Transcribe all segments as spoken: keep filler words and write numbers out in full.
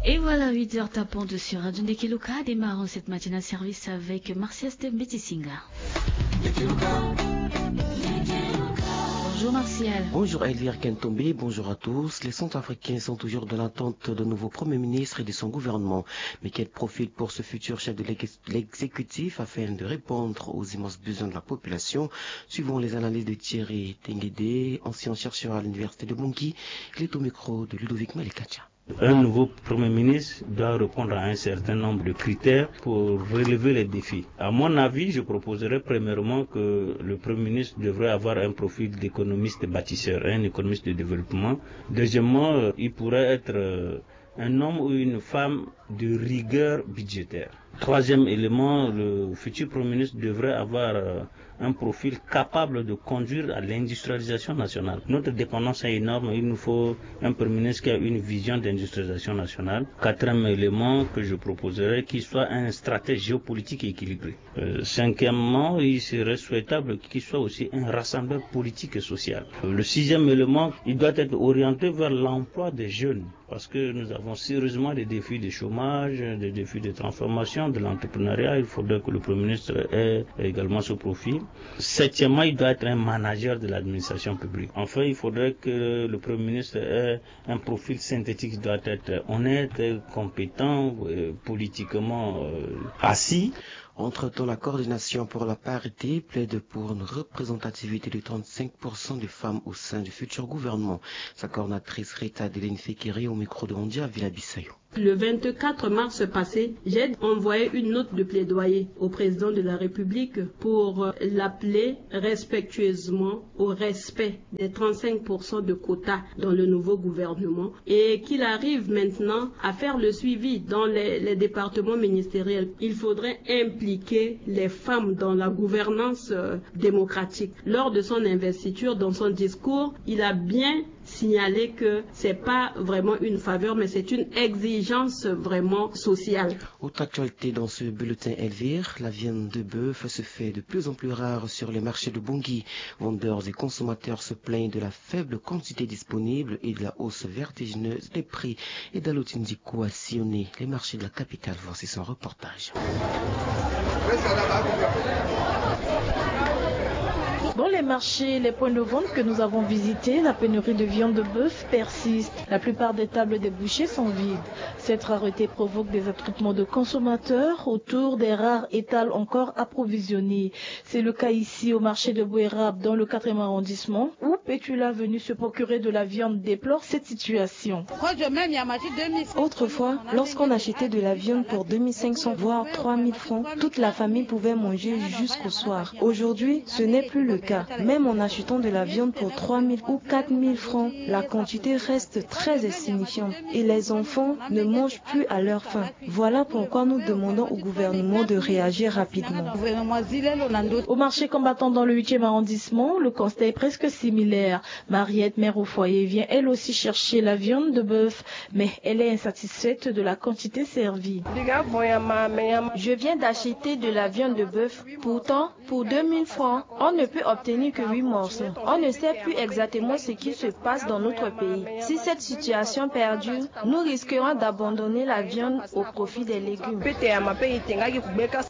Et voilà, huit heures tapant sur Radio Ndeke Luka, démarrons cette matinale service avec Martial Steve Mbetisinga. Bonjour Martial. Bonjour Elvire Kentombe, bonjour à tous. Les Centrafricains sont toujours dans l'attente d'un nouveau Premier ministre et de son gouvernement. Mais quel profil pour ce futur chef de l'ex- l'exécutif afin de répondre aux immenses besoins de la population? Suivant les analyses de Thierry Tenguede, ancien chercheur à l'université de Bangui, il est au micro de Ludovic Malekacha. Un nouveau Premier ministre doit répondre à un certain nombre de critères pour relever les défis. À mon avis, je proposerais premièrement que le Premier ministre devrait avoir un profil d'économiste bâtisseur, un économiste de développement. Deuxièmement, euh, il pourrait être euh, un homme ou une femme de rigueur budgétaire. Troisième élément, le futur Premier ministre devrait avoir euh, un profil capable de conduire à l'industrialisation nationale. Notre dépendance est énorme, il nous faut un Premier ministre qui a une vision d'industrialisation nationale. Quatrième élément que je proposerais, qu'il soit un stratège géopolitique équilibré. Euh, cinquièmement, il serait souhaitable qu'il soit aussi un rassembleur politique et social. Euh, le sixième élément, il doit être orienté vers l'emploi des jeunes. Parce que nous avons sérieusement des défis de chômage, des défis de transformation, de l'entrepreneuriat. Il faudrait que le Premier ministre ait également ce profil. Septièmement, il doit être un manager de l'administration publique. Enfin, il faudrait que le Premier ministre ait un profil synthétique qui doit être honnête, compétent, euh, politiquement euh, assis. Entre-temps, la coordination pour la parité plaide pour une représentativité de trente-cinq pour cent des femmes au sein du futur gouvernement. Sa coordinatrice Rita Deline Fekere au micro de Andia Villa Bissayo. Le vingt-quatre mars passé, j'ai envoyé une note de plaidoyer au président de la République pour euh, l'appeler respectueusement au respect des trente-cinq pour cent de quotas dans le nouveau gouvernement et qu'il arrive maintenant à faire le suivi dans les, les départements ministériels. Il faudrait impliquer les femmes dans la gouvernance euh, démocratique. Lors de son investiture, dans son discours, il a bien signalé que c'est pas vraiment une faveur, mais c'est une exigence vraiment sociale. Autre actualité dans ce bulletin, Elvire, la viande de bœuf se fait de plus en plus rare sur les marchés de Bangui. Vendeurs et consommateurs se plaignent de la faible quantité disponible et de la hausse vertigineuse des prix. Et Dalotine Dikou a sillonné les marchés de la capitale. Voici son reportage. Dans les marchés, les points de vente que nous avons visités, la pénurie de viande de bœuf persiste. La plupart des tables des bouchers sont vides. Cette rareté provoque des attroupements de consommateurs autour des rares étals encore approvisionnés. C'est le cas ici au marché de Bouérab, dans le quatrième arrondissement, où Petula, venu se procurer de la viande, déplore cette situation. Autrefois, lorsqu'on achetait de la viande pour deux mille cinq cents voire trois mille francs, toute la famille pouvait manger jusqu'au soir. Aujourd'hui, ce n'est plus le cas. Même en achetant de la viande pour trois mille ou quatre mille francs, la quantité reste très insignifiante et les enfants ne mangent plus à leur faim. Voilà pourquoi nous demandons au gouvernement de réagir rapidement. Au marché Combattant, dans le huitième arrondissement, le constat est presque similaire. Mariette, mère au foyer, vient elle aussi chercher la viande de bœuf, mais elle est insatisfaite de la quantité servie. Je viens d'acheter de la viande de bœuf. Pourtant, pour deux mille francs, on ne peut obtenir que huit morceaux. On ne sait plus exactement ce qui se passe dans notre pays. Si cette situation perdure, nous risquerons d'abandonner la viande au profit des légumes.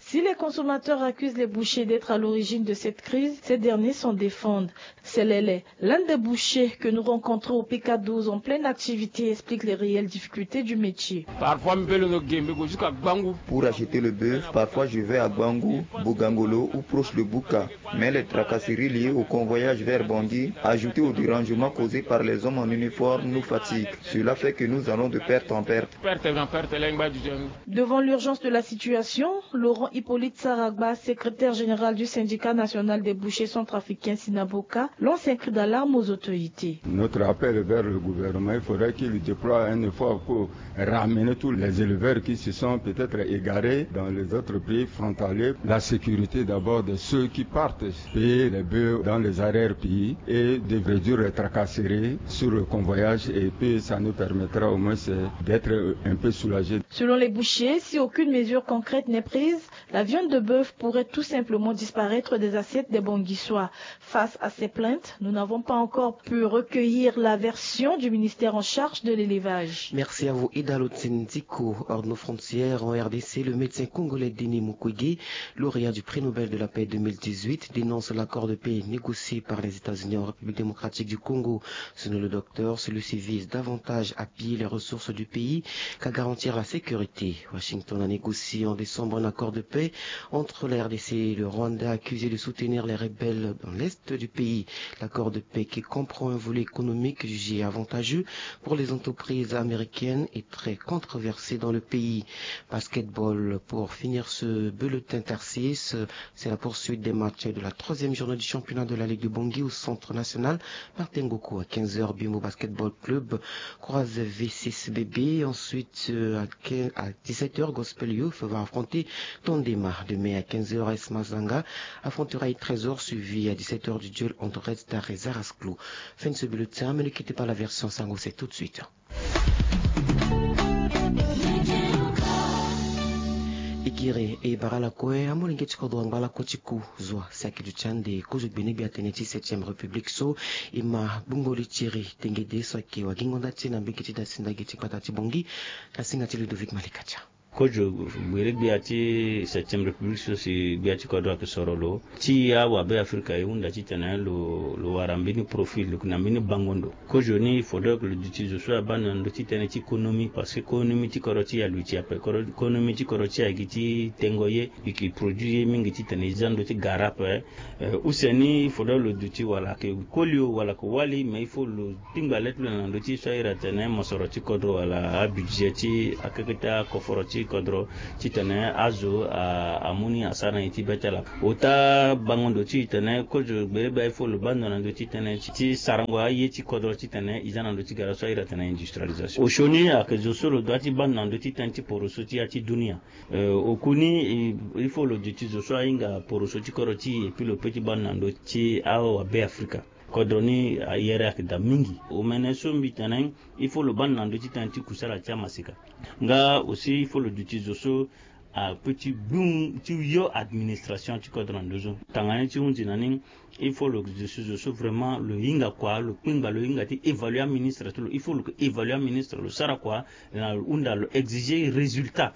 Si les consommateurs accusent les bouchers d'être à l'origine de cette crise, ces derniers s'en défendent. Selele, l'un des bouchers que nous rencontrons au P K douze en pleine activité, explique les réelles difficultés du métier. Parfois, mi peut londo Gembe, go jusqu'à Gbangou. Pour acheter le bœuf, parfois je vais à Gbangou, Bogangolo ou proche de Bouka. Mais les tracasseries liées au convoyage vers Bangui, ajoutées au dérangement causé par les hommes en uniforme, nous fatiguent. Cela fait que nous allons de perte en perte. Perte en perte, là, il va du jeune. Devant l'urgence de la situation, Laurent Hippolyte Saragba, secrétaire général du syndicat national des bouchers centrafricains, Sinaboka, lance un cri d'alarme aux autorités. Notre appel vers le gouvernement, il faudrait qu'il déploie un effort pour ramener tous les éleveurs qui se sont peut-être égarés dans les autres pays frontaliers. La sécurité d'abord de ceux qui partent payer les bœufs. dans les arrière-pays et de réduire les tracasseries sur le convoyage, et puis ça nous permettra au moins d'être un peu soulagés. Selon les bouchers, si aucune mesure concrète n'est prise, la viande de bœuf pourrait tout simplement disparaître des assiettes des Bangui. Face à ces plaintes, nous n'avons pas encore pu recueillir la version du ministère en charge de l'élevage. Merci à vous, Ida Lotindiko. Hors de nos frontières, en R D C, le médecin congolais Denis Mukwege, lauréat du prix Nobel de la paix deux mille dix-huit, dénonce l'accord de paix négocié par les États-Unis en République démocratique du Congo. Selon le docteur, celui-ci vise davantage à piller les ressources du pays qu'à garantir la sécurité. Washington a négocié en décembre un accord de paix entre la R D C et le Rwanda, accusé de soutenir les rebelles dans l'est du pays. L'accord de paix, qui comprend un volet économique jugé avantageux pour les entreprises américaines, est très controversé dans le pays. Basketball, pour finir ce bulletin, Tarsis, c'est la poursuite des matchs de la troisième journée du championnat de la Ligue de Bangui au Centre National Martin Ngoku. À quinze heures, Bimbo Basketball Club croise V six B B. Ensuite, euh, à quinze, à dix-sept heures, Gospel Youth va affronter Tondema. Demain à quinze heures, S Mazanga affrontera Trésor, suivi à dix-sept heures du duel entre Red Star et Zarasklo. Fin de ce bulletin, mais ne quittez pas la version Sango, c'est tout de suite. E gere e bara lakue amolenge ti kodro angba lakue ti ku zua si ayeke duti ande kozo gbenegbia tënë ti septième république so e ma gbungo li ti iri tengede so ayeke wagingo nda ti e na mbege ti dasi ndage ti gbata ti Bangui. Na singa ti Ludovic Malikatia. Kozo gbenegbia ti septième république so si gbia ti kodro ayeke soro lo ti awabe afrika e hunda titene lo lo wara mbeni profil lo yeke na mbeni bango ndo. Kozoni il faudrait que lo duti zo so abaa na ndö ti tënë ti konomi parce que konomi ti kodro ti e aluti ape. Konomi ti kodro ti e ayeke ti tengo ye, e yeke produit ye mingi titene e za ndö ti gara ape. Use ni il faudrait lo duti wala ayeke koli o wala ayeke wali mais il faut lo kpingba le ti lo na ndö ti so a iri atene mosoro ti kodro wala abudget ti akeke ti akoforo ti kodro titene azo amu ni asara na ye ti be ti ala. Ota bango ndo ti e tene kozo gbenegbia il faut lo baa ndo na ndö ti tënë ti sarango aye ti kodro titene e za na ndö ti gara so a iri atene industrialisation. Osioni ayeke zo so lo doit ti baa ndo na ndö ti tënë ti poroso ti ya ti dunia. Oku ni il faut lo duti zo so ahinga poroso ti kodro ti e epui lo pe ti baa ndo na ndö ti awabe afrika. Kodro ni ayere ayeke daa mingi. Omene so mbi tene il faut lo baa ndo na ndö ti tënë ti kusala ti amaseka. Nga aussi il faut lo duti zo so ape ti gbu ti yo administration ti kodro na ndö so. Tanga ni ti hunzi na ni il faut lo duti zo so vraiment lo hinga kua lo kpingba lo hinga ti évaluer aministre ti lo. Il faut lo évaluer aministre lo sara kua na lo hunda lo exiger résultat.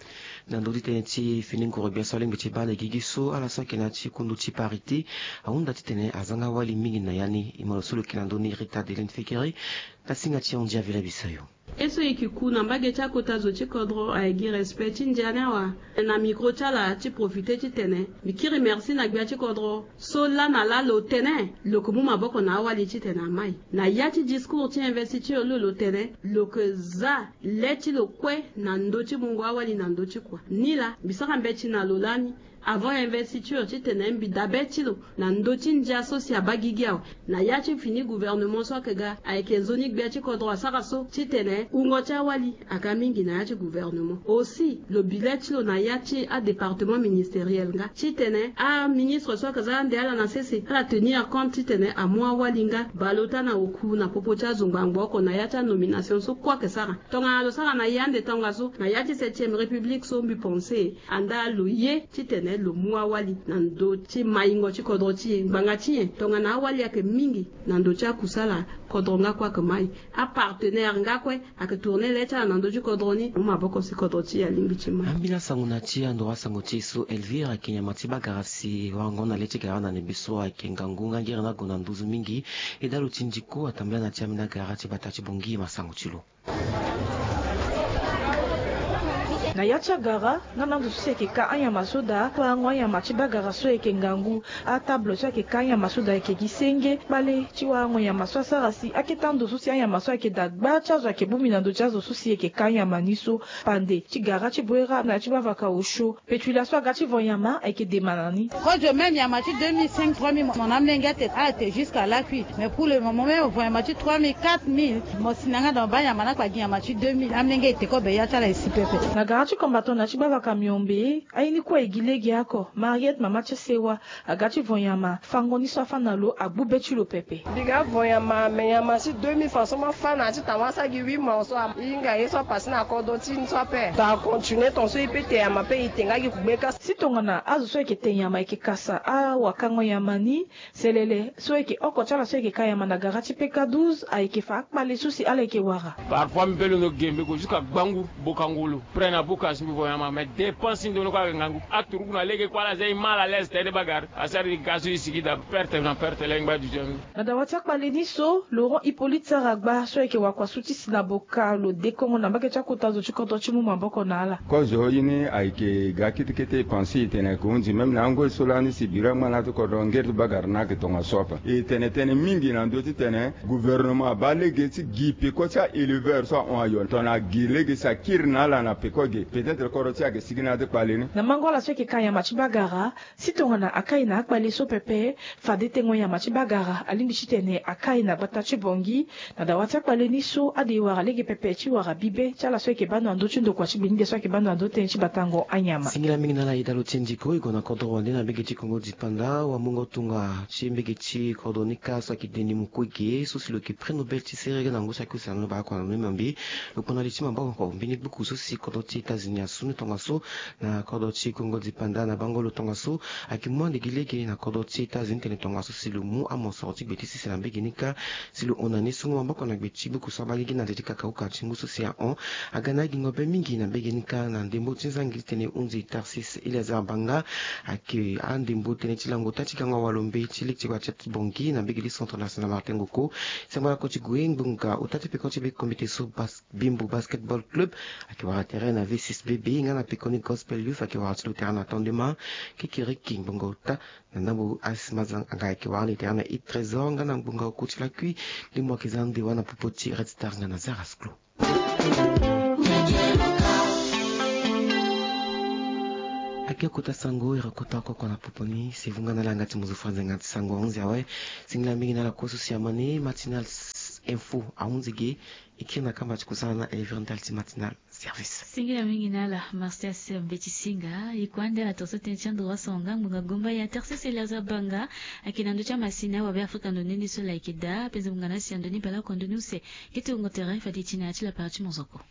Na ndö ti tënë ti fini ngoro gbia so alingbi ti baa na gigi so ala so ayeke na ya ti kundu ti parité ahunda titene azanga wali mingi na ya ni. E ma lo so lo yeke na ndö ni Rita Adeline Fekeri na singa ti Andia Vila Bisayo. Ye so e yeke ku na mbage ti akota zo ti kodro ayeke gi respect ti ndia ni awa. Na micro ti ala ti profiter titene mbi kiri merci na gbia ti kodro so laa na laa lo tene lo yeke mu maboko na awali titene amai. Na ya ti discours ti investiture lo lo tene lo yeke za le ti lo kue na ndö ti mungo awali na ndö ti kua. Nilaa mbi sara mbeti na lo lani avant investiture titene mbi daa be ti lo na ndö ti ndia so si abaa gigi awe. Na ya ti fini gouvernement so ayeke ga ayeke nzoni gbia ti kodro asara so titene wungo ti awali aga mingi na ya ti gouvernement. Aussi lo bi le ti lo na ya ti adépartement ministériel nga titene aministre so ayeke za ande ala na sese ala tenir compte titene amu awali nga baleota na oku na popo ti azo ngbangbo oko na ya ti anomination so kue ayeke sara. Tongana lo sara na ye ande tongaso na ya ti septième république so mbi pense andaa lo ye titene lo mu awali na ndö ti maingo ti kodro ti e ngbanga ti nyen? Tongana awali ayeke mingi na ndö ti akusala kodro nga kue ayeke mai. Apartenaire nga kue ayeke tourner le ti ala na ndö ti kodro ni mu maboko si kodro ti e alingbi ti mai. Ambeni asango na ya ti andoro asango ti e so Elvire ayeke nyama ti bagara si warango na le ti gara na nebeso ayeke ngangu nga ngere ni ague na nduzu mingi. E daa lo ti ndiko atambela na ya ti ambeni agara ti bata ti Bangui ma sango ti lo. Na ya ti agara nga na ndo so si ayeke ka anyama so daa warango anyama ti bagara so ayeke ngangu. Atable so ayeke ka anyama so daa ayeke gi senge kpale ti warango nyama so asara si akete ando so si anyama so ayeke daa gba ti azo ayeke bongbi na ndo ti azo so si ayeke ka anyama ni so. Pande ti gara ti boera na ya ti bavaka osio. Petula so aga ti vo nyama ayeke dema na ni. Kozo même nyama ti deux mille cinq trois mille mo na amolenge ate ala te jusqu'à la cuite mais pour le moment même vo nyama ti trois mille quatre mille mo si na nga donc baa nyama ni akpa gi nyama ti deux mille amolenge e te kobe ya ti ala e si pepe. Na gara Ti combattant na ti gbavaka miombe aye ni kue e gi lege oko. Mariette mama ti sewa aga ti vo nyama fango ni so afâ na lo agbu be ti lo pepe. Mbi ga vo nyama me nyama si deux mille francs so mâ fâ na ti tawa so agi huit mois so ahinga ye so apase na kodro ti ni so ape. Ta continue ton so e pe te nyama pe e te nga gi kugbe ka. Si tongana azo so ayeke te nyama ayeke kasa awakango nyama ni. Selele so ayeke oko ti ala so ayeke ka nyama na gara ti peka douze ayeke fa akpale so si ala yeke wara. Parfois mbi pe londo gembe ko jusqu'à gbangu boka ngolo près na boka si mbi vo nyama mais dépense ti ndono ko ayeke ngangu aturuku na lege kue ala za e mal à l'aise tene bagara asara e ga so e sigi da perte na perte lengba du jeu. Na dawa ti akpale ni so Laurent Hippolyte sara gba so ayeke wakua su ti si na boka lo dekongo na mbage ti akota zo ti kodro ti mu maboko na ala. Kozo ye ni ayeke ga kete kete e pense e tene ayeke hunzi même na angoi so lani si bira ngbana ti kodro ngeri ti bagara ni ayeke tongaso ape. E tene tënë mingi na ndö ti tene gouvernement abaa lege ti gi peko ti a-éleveur so ahon ayo tongana agi lege si akiri na ala na peko ge peut-être kodro ti e ayeke sigi na ya ti kpale ni. Na mango ala so ayeke ka nyama ti bagara si tongana akai na akpale so pepe fade tengo nyama ti bagara alingbi titene akai na gbata ti bongi. Na dawa ti akpale ni so ade e wara lege pepe ti wara bibe ti ala so ayeke baa ndo na ndö ti ndokua ti gbinigbe so ayeke baa ndo na ndö tënë ti batango anyama. Singila mingi na ala aye dalo ti ndiko e gue na kodro wande na mbege ti kongo dipanda wamungo tonga ti mbege ti kodro ni kâ so ayeke denis mukwege so si lo yeke prix nobel ti serege na ngu so ayeke use na lo baa kua na lo ni mambe. Lo kpona li ti maboko mbeni gbuku so si kodro ti états-unis asu ni tongaso na kodro ti kongo dipanda na bango lo tongaso. Ayeke mu ande gi lege na kodro ti états-unis tene tongaso si lo mu amosoro ti gbe ti sese na mbege ni kâ si lo hon na ni sungo maboko na gbe ti gbuku so abaa lege na nze ti kakauka ti ngu so si ahon. Aga na agingo be mingi na mbege ni kâ na ndembo ti nzangi ti tene hunzi tarsis eleazar banga ayeke andembo tënë ti lango ota ti gango awalombe ti lege ti gbata ti bongi na mbege ti centre national martin ngoko. Sango na ko ti gue ngbonga ota ti peko ti be komite so bas bimbo basketball club ayeke wara terrain na v six bb nga na pekoni gospel youth ayeke wara ti lo terrain na tondema. Kikiriki ngbonga ota na ndambo as mazang anga ayeke wara ni terrain na hit trésor nga na ngbonga oko ti lakui. Ndembo ayeke za ndewa na popo ti red star nga na zaras clo. Ake kota sango ere kota oko oko na popo ni sevu nga na langa ti mozo franze nga ti sango ahunzi awe. Singila mingi na ala kue so si amani matinal info ahunzi ge. E kiri na kamba ti kusala na elevere ndali ti matinal service. Singila mingi na ala marsias mbeti singa e kue ande ala tongaso tënë ti androit songa ngbonga gomba ya tarsis eleazar banga. Ayeke na ndö ti amasini awabe afrika ndo ni ni so la ayeke daa apenze ngbonga na asi ya ndo ni baleoko ndo ni use. Kete wungo tere fade e ti na ya ti lapara ti mozoko.